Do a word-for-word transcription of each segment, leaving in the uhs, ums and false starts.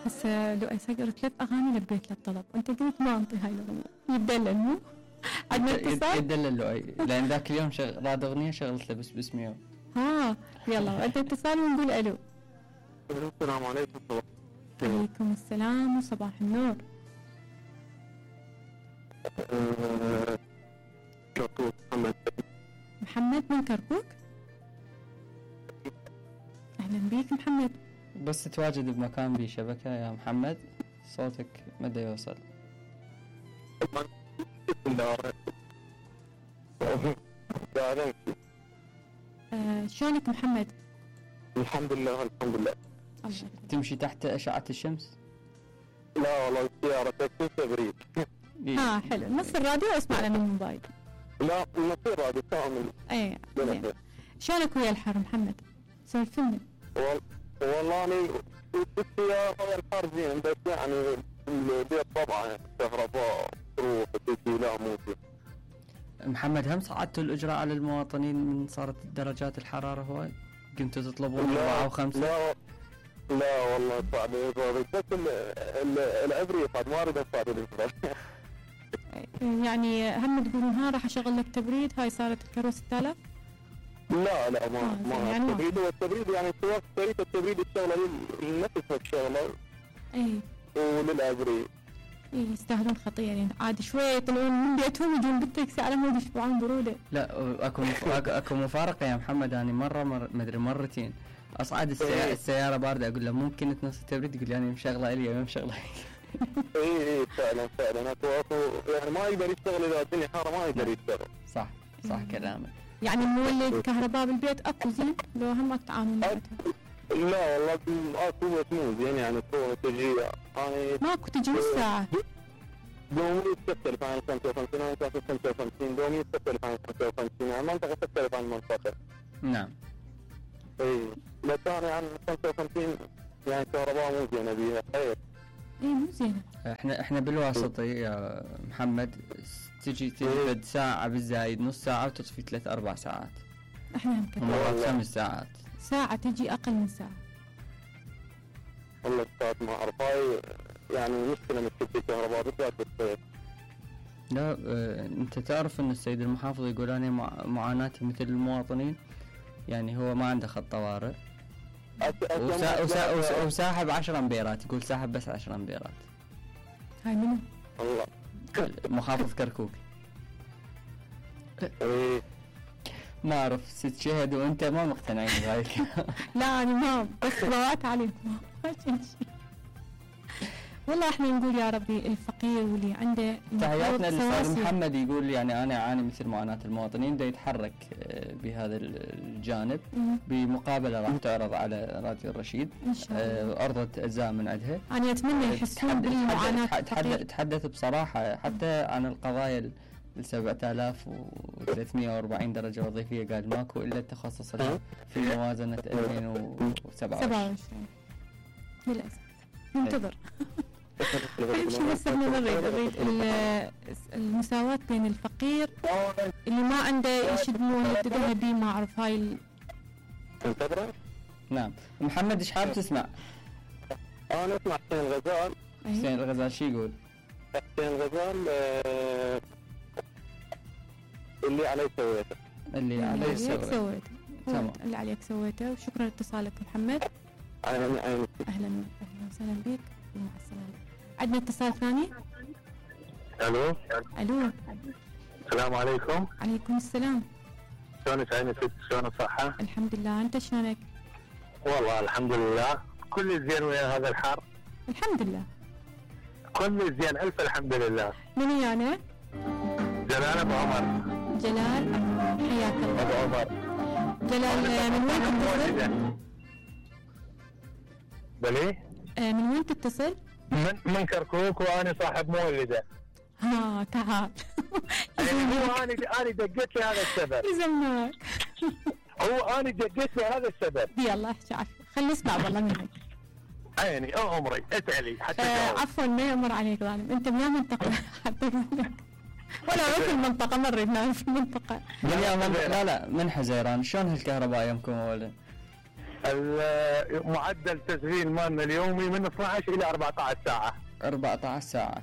هسه لؤي صقر ثلاث اغاني لبيت له الطلب، انت قلت ما انطي هاي الاغنيه، يتدلل مو؟ عندنا اتصال؟ يتدلل لؤي لان ذاك اليوم شغل راد اغنيه شغلت له بس باسمي. ها يلا عندنا اتصال ونقول الو. السلام عليكم. عليكم السلام وصباح النور. كركوك محمد. محمد من كركوك؟ اهلا بيك محمد. بس تواجد بمكان بيه شبكة يا محمد صوتك مدى يوصل. آه شلونك محمد؟ الحمد لله الحمد لله. تمشي تحت أشعة الشمس؟ لا والله السيارة تكفي تبريد. اه حلو، نص الراديو اسمع من الموبايل. لا نصير هذا كامل. اي شلونك ويا الحر محمد؟ سولفني. والله أنا بالسيارة والحر زين، بس يعني البيت طبعا كهرباء تروح وتجي لا مو زين. محمد هم صعدتوا الإجراء على المواطنين من صارت درجات الحرارة هواي؟ قمتوا تطلبون أربعة وخمسة؟ لا لا والله صعب بس العبري صعب ما أريد أصعد الإجراء. يعني هم تقولون ها راح أشغل لك تبريد، هاي صارت الكروة ستة آلاف؟ لا لا ما آه ما يعني التبريد هو التبريد يعني سواء شركة التبريد الشغلة لنفسها الشغلة. اي وللعبري. اي يستاهلون خطيرين، عاد شوي يطلعون من بيتهم يجون بالتاكسي على مود يشبعون برودة. لا اكو مف... اكو مفارقة يا محمد، يعني مرة مر... مدري مرتين اصعد السيارة, السيارة باردة اقول له ممكن تنص التبريد، يقول يعني مشغلة الي ما مشغلة. اي اي فعلا فعلا اكو اكو يعني ما يقدر يشتغل اذا الدنيا حارة ما يقدر يشتغل. صح صح كلامك. يعني مولد كهرباء بالبيت اكو زين لو هم تعامل معها؟ لا والله اكو بس مو زين يعني تروح تجي يعني ماكو تجي نص ساعة. دومي تختلف عن خمسة وخمسين، انا كنت خمسة وخمسين دومي تختلف عن خمسة وخمسين، يعني المنطقة تختلف عن المنطقة. نعم. اي بس انا يعني خمسة وخمسين يعني كهرباء مو زينة بيها خير. اي مو زينة. احنا احنا بالواسطة يا محمد تجي تجي ساعة بالزايد نص ساعة وتطفي ثلاث أربع ساعات. احنا هم كذا. مرات خمس ساعات. ساعة تجي أقل من ساعة. والله استاذ ما أعرف هاي يعني مشكلة مشكلة الكهرباء بالذات بالصيف. لا اه أنت تعرف أن السيد المحافظ يقول أنا معاناتي مثل المواطنين، يعني هو ما عنده خط طوارئ وسا وسا وسا وساحب عشر أمبيرات، يقول ساحب بس عشر أمبيرات. هاي منو؟ الله محافظ كركوك. ايه ما أعرف ست شهد وأنت ما مقتنعين بهاي. لا أنا ما بس روات عليكم ما شيء. والله احنا نقول يا ربي الفقير واللي عنده تحياتنا للأستاذ محمد، يقول يعني أنا أعاني مثل معاناة المواطنين، دا يتحرك بهذا الجانب بمقابلة راح تعرض على راديو الرشيد إن شاء الله. أرضت أجزاء من عندها. أنا أتمنى يحسون بالمعاناة. تحدث تحدث بصراحة حتى عن القضايا سبعة آلاف وثلاثمئة وأربعين درجة وظيفية، قال ماكو إلا التخصص في موازنة ألفين وسبعة وعشرين. للأسف ننتظر. أهم شيء بس احنا نريد نريد المساواة بين الفقير اللي ما عنده يشد مويه ذهبي ما أعرف هاي ال... نعم. محمد إيش حاب تسمع؟ أنا أسمع حسين الغزال. حسين الغزال شو يقول؟ حسين الغزال آه اللي عليك سويته. اللي عليك سويته. تمام. اللي عليك سويته. وشكرا لاتصالك محمد. أهلا أهلا أهلا أهلا وسهلا بك ومع السلامة. عندنا اتصال ثاني. ألو. ألو. السلام عليكم. عليكم السلام. شلونك عيني ست؟ شلون الصحة؟ الحمد لله، أنت شلونك؟ والله الحمد لله كل زين ويا هذا الحر. الحمد لله. كل زين ألف الحمد لله. من أنا؟ جلال أبو عمر. جلال حياك الله. أبو عمر. جلال من وين تتصل؟ بلي؟ آه من وين تتصل؟ من من كركوك وأنا صاحب مولدة. ها تعال. يعني هو أنا أنا دقيت لهذا السبب. يزمناك. هو أنا دقيت لهذا السبب. يلا احكي عفوا، خلينا نسمع والله منك. عيني أو عمري اسألي حتى آه عفوا ما يمر عليك ظالم، أنت من منطقة حتى ولا في المنطقة مرة في المنطقة. من لا لا من حزيران. شلون هالكهرباء يمكم أولا؟ معدل تشغيل مالنا اليومي من اثني عشر الى أربعة عشر ساعه. أربعة عشر ساعة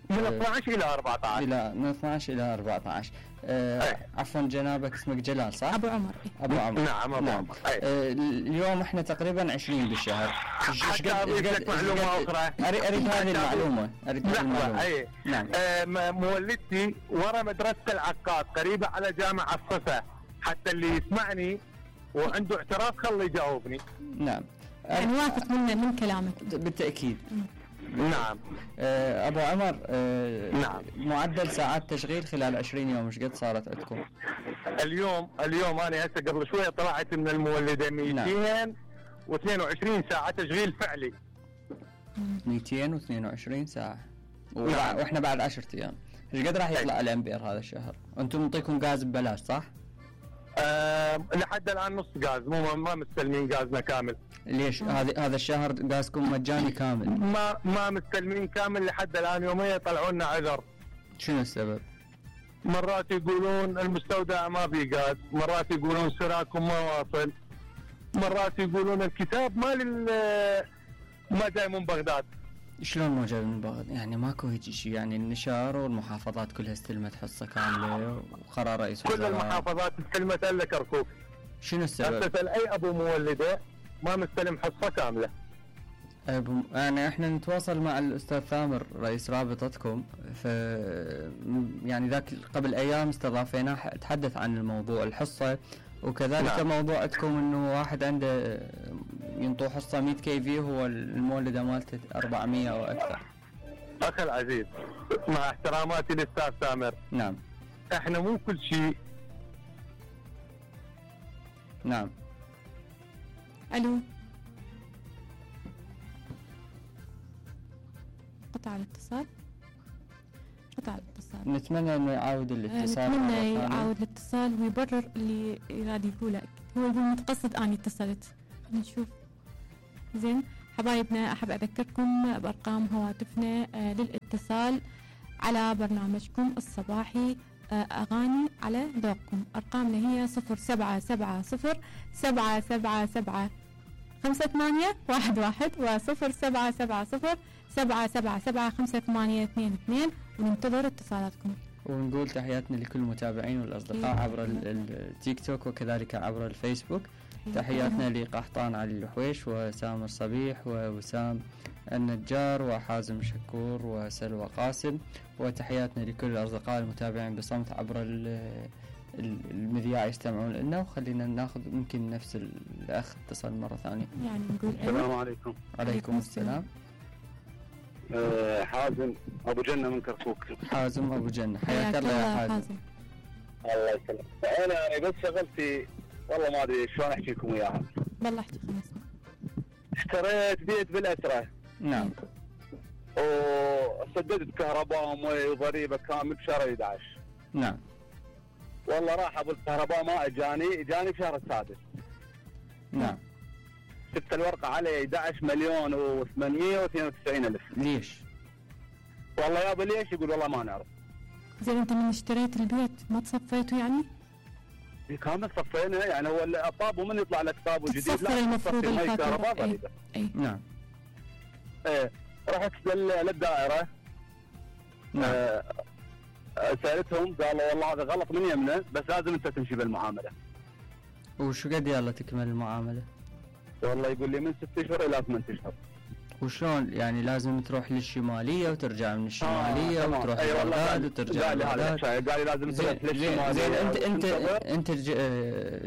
من اثني عشر الى أربعة عشر. الى من اثني عشر الى أربعة عشر. أه عفوا جنابك اسمك جلال صح؟ ابو عمر. ابو عمر. نعم ابو نعم. عمر. أه اليوم احنا تقريبا عشرين بالشهر. حتى اضيف لك معلومه اخرى. اريد اريد هذه المعلومه، اريد هذه المعلومه. اي نعم. أه مولدتي ورا مدرسه العقاد قريبه على جامع الصفا، حتى اللي يسمعني وعنده اعتراض خليه يجاوبني. نعم. يعني واثق من من كلامك. بالتاكيد. نعم. أه ابو عمر، أه نعم. معدل ساعات تشغيل خلال عشرين يوم ايش قد صارت عندكم؟ اليوم اليوم انا هسه قبل شويه طلعت من المولده مئتين واثنين وعشرين ساعه تشغيل فعلي. مئتين واثنين وعشرين ساعه. نعم. واحنا بعد عشرة ايام. ايش قد راح يطلع الامبير هذا الشهر؟ انتم نعطيكم غاز ببلاش صح؟ أه لحد الان نص غاز، مو ما مستلمين غازنا كامل. ليش هذا هذا الشهر غازكم مجاني كامل؟ ما ما مستلمين كامل لحد الان، يوميا يطلعوا لنا عذر. شنو السبب؟ مرات يقولون المستودع ما في غاز، مرات يقولون سراكم ما واصل، مرات يقولون الكتاب مال ما جاي من بغداد. شلون ما جاي من بغداد؟ يعني ماكو هيك شيء، يعني النشار والمحافظات كلها استلمت حصه كامله وقرار رئيس كل المحافظات استلمت الا كركوك. شنو السبب؟ اساسا اي ابو مولده ما مستلم حصه كامله. أبو يعني احنا نتواصل مع الاستاذ ثامر رئيس رابطتكم، ف يعني ذاك قبل ايام استضافيناه تحدث عن الموضوع الحصه، وكذلك نعم. موضوع عندكم انه واحد عنده ينطوه حصه مئة كي في هو المولده مالته أربعمئة او اكثر. اخي العزيز مع احتراماتي للاستاذ ثامر، نعم احنا مو كل شيء. نعم. الو. قطع الاتصال. قطع الاتصال. نتمنى انه يعاود الاتصال. نتمنى يعاود الاتصال ويبرر اللي يراد يقوله. هو يقول متقصد اني اتصلت. خلينا نشوف. زين حبايبنا، احب اذكركم بارقام هواتفنا آه للاتصال على برنامجكم الصباحي آه اغاني على ذوقكم. ارقامنا هي صفر سبعة سبعة صفر سبعة سبعة سبعة خمسة ثمانية واحد واحد وصفر سبعة سبعة صفر سبعة سبعة سبعة خمسة ثمانية اثنين اثنين، وننتظر اتصالاتكم. ونقول تحياتنا لكل المتابعين والأصدقاء عبر التيك توك وكذلك عبر الفيسبوك. تحياتنا لقحطان علي الحويش وسامر صبيح ووسام النجار وحازم شكور وسلوى قاسم، وتحياتنا لكل الأصدقاء المتابعين بصمت عبر المذياع يستمعون لنا. وخلينا ناخذ ممكن نفس الأخ اتصل مرة ثانية. يعني نقول السلام عليكم. عليكم السلام. أه حازم أبو جنة من كركوك. حازم أبو جنة، حياك الله يا حازم. حازم. الله يسلمك. أنا بس شغلتي والله ما أدري شلون أحكي لكم إياها. بالله احكي خلاص. اشتريت بيت بالأسرة. نعم. وسددت كهرباء ومي وضريبة كامل بشهر أحد عشر. نعم. والله راح ابو الكهرباء ما اجاني، اجاني بشهر السادس. نعم. شفت الورقه علي أحد عشر مليون وثمانمئة واثنين وتسعين الف. ليش؟ والله يابا ليش؟ يقول والله ما نعرف. زين انت من اشتريت البيت ما تصفيته يعني؟ كامل صفينا، يعني هو الطاب ومن يطلع لك طاب جديد لا المفروض الكهرباء اي اي نعم. ايه رحت للدائره. نعم. آه سألتهم قالوا والله هذا غلط من يمنا بس لازم انت تمشي بالمعامله. وشو قد يلا تكمل المعامله؟ والله يقول لي من ست اشهر الى ثمان اشهر. وشلون يعني لازم تروح للشماليه وترجع من الشماليه آه وتروح أيوة لبغداد وترجع لبغداد؟ قال لي لازم تروح للشماليه. زين انت انت انت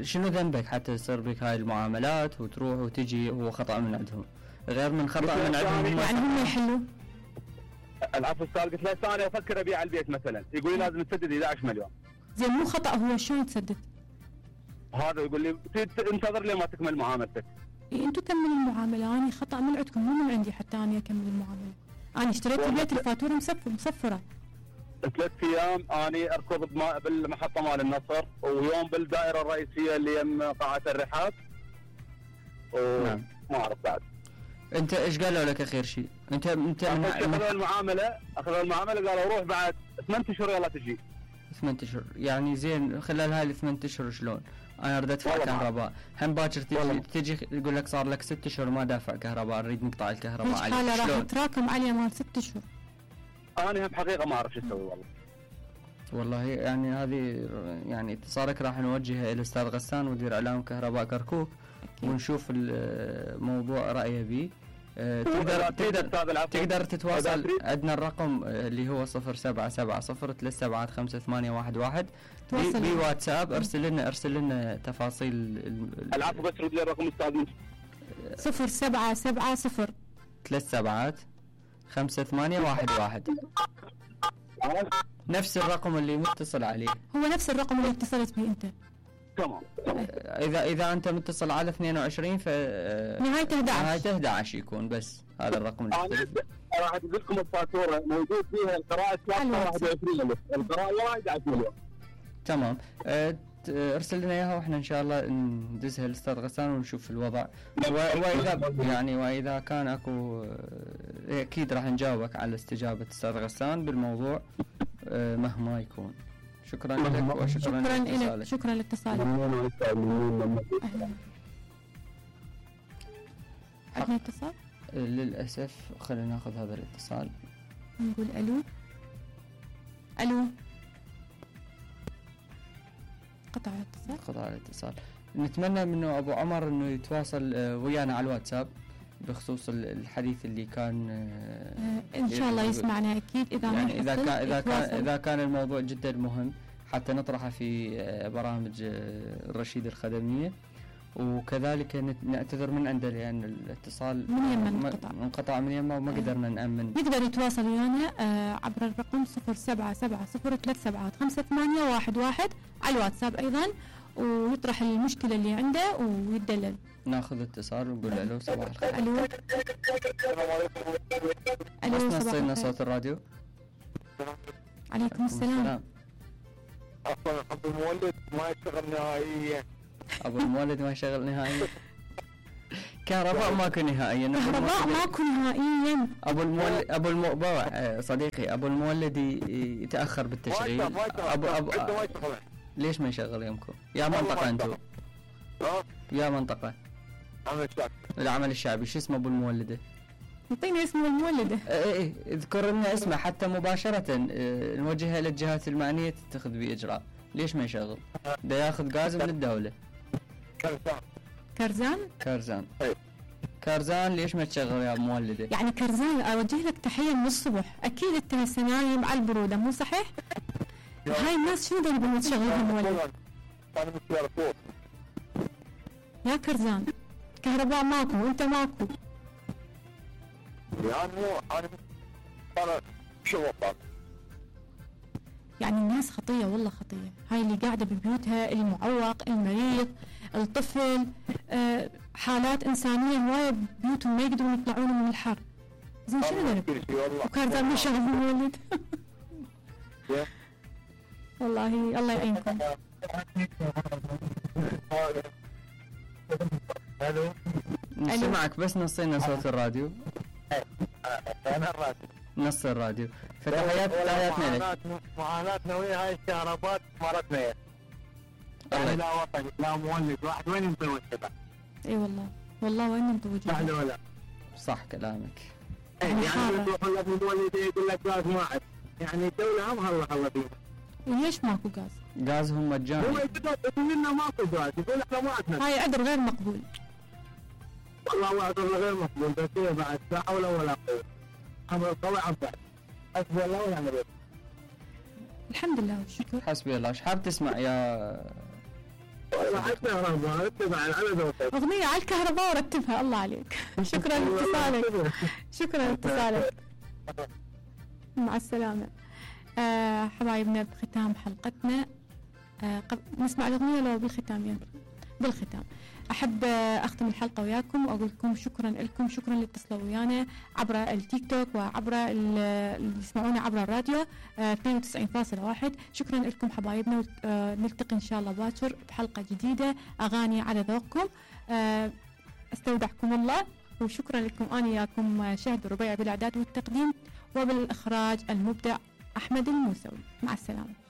شنو ذنبك حتى تصير بك هاي المعاملات وتروح وتجي؟ هو خطا من عندهم غير من خطا من عندهم. يعني هم يحلوا. العفو استاذ قلت له ثانيه افكر ابيع البيت مثلا، يقول لي لازم تسدد أحد عشر مليون. زين مو خطا هو شلون تسدد؟ هذا يقول لي انتظر لي ما تكمل معاملتك. إيه انتم كملوا المعامله، انا خطا من عندكم مو من عندي حتى انا اكمل المعامله. انا اشتريت البيت الفاتوره مصفره. ثلاث ايام اني اركض بالمحطه مال النصر، ويوم بالدائره الرئيسيه اللي يم قاعه الرحاب. نعم. ما اعرف بعد. انت ايش قالوا لك اخر شيء؟ انت انت اخذوا المعامله اخذوا المعامله قالوا روح بعد ثمان اشهر يلا تجي. ثمان اشهر يعني زين. خلال هاي الثمان اشهر شلون؟ انا اريد ادفع كهرباء، هم باكر تجي تجي تقول لك صار لك ست اشهر ما دافع كهرباء، نريد نقطع الكهرباء عليك. حاله راح تراكم عليه مال ست اشهر. انا هم حقيقه ما اعرف شو اسوي والله. والله يعني هذه يعني اتصالك راح نوجهه الى الاستاذ غسان مدير اعلام كهرباء كركوك ونشوف الموضوع رايه به. أه تقدر تقدر تقدر تتواصل، عندنا الرقم اللي هو صفر سبعة سبعة صفر ثلاث سبعات خمسة ثمانية واحد واحد بواتساب. ارسل لنا ارسل لنا تفاصيل. العفو بس رد لي الرقم استاذ. صفر سبعة سبعة صفر ثلاث سبعات خمسة ثمانية واحد واحد، نفس الرقم اللي متصل عليه. هو نفس الرقم اللي اتصلت به انت. تمام. اذا اذا انت متصل على اثنين وعشرين ف نهايته احد عشر نهايته احد عشر يكون بس هذا الرقم اللي انا راح ادز لكم الفاتوره موجود فيها القراءه واحد وعشرين ألف، القراءه واحد عشرين. تمام. أه ارسل لنا اياها واحنا ان شاء الله ندزها للاستاذ غسان ونشوف الوضع، واذا يعني واذا كان اكو اكيد راح نجاوبك على استجابه الاستاذ غسان بالموضوع مهما يكون. شكرا لك وشكرا شكرا لك. شكرا لاتصالك. عندنا اتصال؟ للاسف خلينا ناخذ هذا الاتصال. نقول الو. الو. قطع الاتصال. قطع الاتصال. نتمنى منه ابو عمر انه يتواصل ويانا على الواتساب بخصوص الحديث اللي كان. آه ان شاء الله يسمعنا اكيد اذا يعني اذا كان اذا كان اذا كان الموضوع جدا مهم حتى نطرحه في برامج الرشيد الخدميه. وكذلك نعتذر من عنده لان الاتصال من يمه انقطع انقطع من يمه وما قدرنا نامن. يقدر يتواصل ويانا آه عبر الرقم صفر سبعة سبعة صفر ثلاث سبعات خمسة ثمانية واحد واحد على الواتساب ايضا، ويطرح المشكله اللي عنده ويدلل. ناخذ اتصال ونقول الو صباح الخير. الو. الو بس نصينا صوت الراديو. عليكم السلام. اصلا ابو المولد ما يشتغل نهائيا. ابو المولد ما يشتغل نهائيا. كهرباء ماكو نهائيا. كهرباء ماكو نهائيا. ابو المولد ابو المؤبوع صديقي ابو المولد يتاخر بالتشغيل. ابو ابو ليش ما يشغل يمكم؟ يا منطقه انتم. يا منطقه. العمل الشعبي. العمل الشعبي شو اسمه ابو المولده؟ اعطينا اسم المولده. اي اي اذكر لنا اسمه حتى مباشره نوجهها للجهات المعنيه تتخذ باجراء. ليش ما يشغل؟ ده ياخذ غاز من الدوله. كرزان. كرزان؟ كرزان. اي كرزان ليش ما تشغل يا مولده؟ يعني كرزان اوجه لك تحيه من الصبح، اكيد انت هسه نايم على البروده مو صحيح؟ هاي الناس شنو بدهم تشغلهم مولد؟ يا كرزان كهرباء ماكو وانت ماكو. يعني انا انا شو وضعك؟ يعني الناس خطيه والله خطيه، هاي اللي قاعده ببيوتها، المعوق، المريض، الطفل، آه حالات انسانيه هوايه ببيوتهم ما يقدرون يطلعون من الحر. زين شنو ذنب؟ وكرزان ما شغل المولد. والله الله يعينكم. الو. نسمعك بس نصينا صوت الراديو. انا الراديو. نص الراديو. فتحيات تحياتنا لك. معاناتنا ويا هاي الكهرباء مرتنا يعني. لا وطن لا مولد واحد وين نطوي الشباب. اي والله والله وين نطوي صح ولا؟ صح كلامك. يعني يروح لك المولد يقول لك غاز ما عاد، يعني الدولة هم الله الله فيهم. ليش ماكو غاز؟ غازهم مجاني. هو يقول لنا ماكو غاز، يقول احنا ما عندنا. هاي عذر غير مقبول. والله عذر غير مقبول، بس هي بعد لا حول ولا قوة. امر القوي عم بعد. حسبي الله ونعم الوكيل. الحمد لله والشكر. حسبي الله. ايش حاب تسمع يا؟ والله على الكهرباء اتبع على اغنية على الكهرباء ورتبها الله عليك. شكرا لاتصالك. شكرا لاتصالك. مع السلامة. آه حبايبنا بختام حلقتنا آه قبل نسمع الأغنية لو بالختام يعني بالختام أحب آه أختم الحلقة وياكم وأقول لكم شكرا لكم، شكرا اللي اتصلوا ويانا عبر التيك توك وعبر اللي يسمعونا عبر الراديو آه اثنين وتسعين فاصلة واحد. شكرا لكم حبايبنا، آه نلتقي إن شاء الله باكر بحلقة جديدة أغاني على ذوقكم. آه استودعكم الله وشكرا لكم. أنا وياكم شهد ربيع بالإعداد والتقديم وبالإخراج المبدع أحمد الموسوي. مع السلامة.